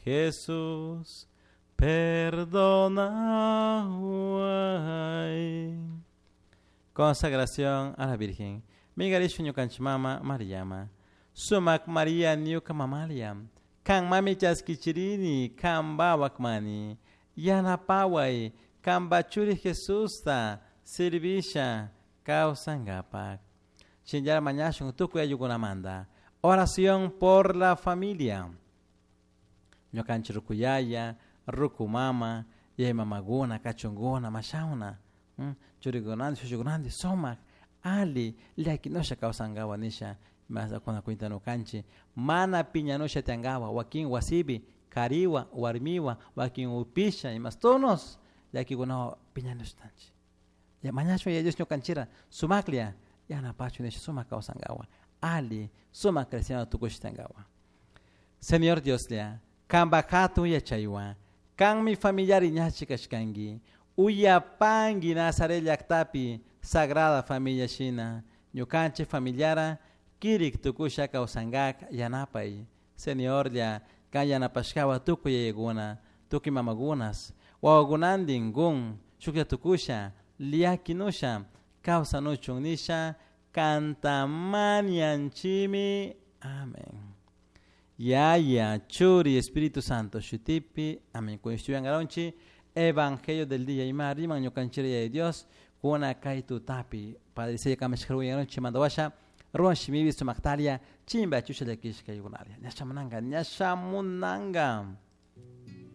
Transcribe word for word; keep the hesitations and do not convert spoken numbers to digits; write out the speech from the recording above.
Jesús, perdonahuay. Consagración a la Virgen. Migarishu ñukanchik mama Mariama. Sumak Maria ñuka mamalia. Kan mami chaskichirini, kan bawakmani. Yanapaway, kan bachuri Jesusta, servisha, kawsangapak. Shinllar mañashun tukuy ayllukunamanta. Oración por la familia. Ñukanchik rukuyaya, ruku mama, yaya mamaguna, kachunguna, mashawna. Churikunanti, shushukunanti, sumak, ali, llakinusha kawsankawa nisha, masakuna cuenta nukanchik, mana piñanusha tiyankawa, wakin wasipi, kariwa, warmiwa, wakin upisha, imas tonos, llakikunawan piñanushtanchik. Ya mañashun Yaya Dios ñukanchira, sumaklla, yanapachun nisha sumak kawsankawa, ali, sumak cristiano tukush tiyankawa. Señor Dioslla, kanpak hatun yachaywan, kanmi familiar ñachi kashkanki, uyapanki Nazaret llaktapi Sagrada Familia shina, ñukanchik familiara kirik tukusha kawsankak yanapay. Señorlla, kan yanapashkawa tukuy yayakuna, tukuy mamakunas, wawakunantin kun shuklla tukusha, llakinusha, kawsanuchun nisha, kantamanianchimi. Amén. Yaya, Churi, Espíritu Santo, shutipi. Amén. Kun Evangelio del día ima riman ñukanchira Yaya Dios, kuna kay tutapi. Padre Sella kamashkaruyanchi mandawasha, ruwan shimibi sumaktalia, chimba chusha llakishka yugunalia. Ñashamunanga, ñashamunanga.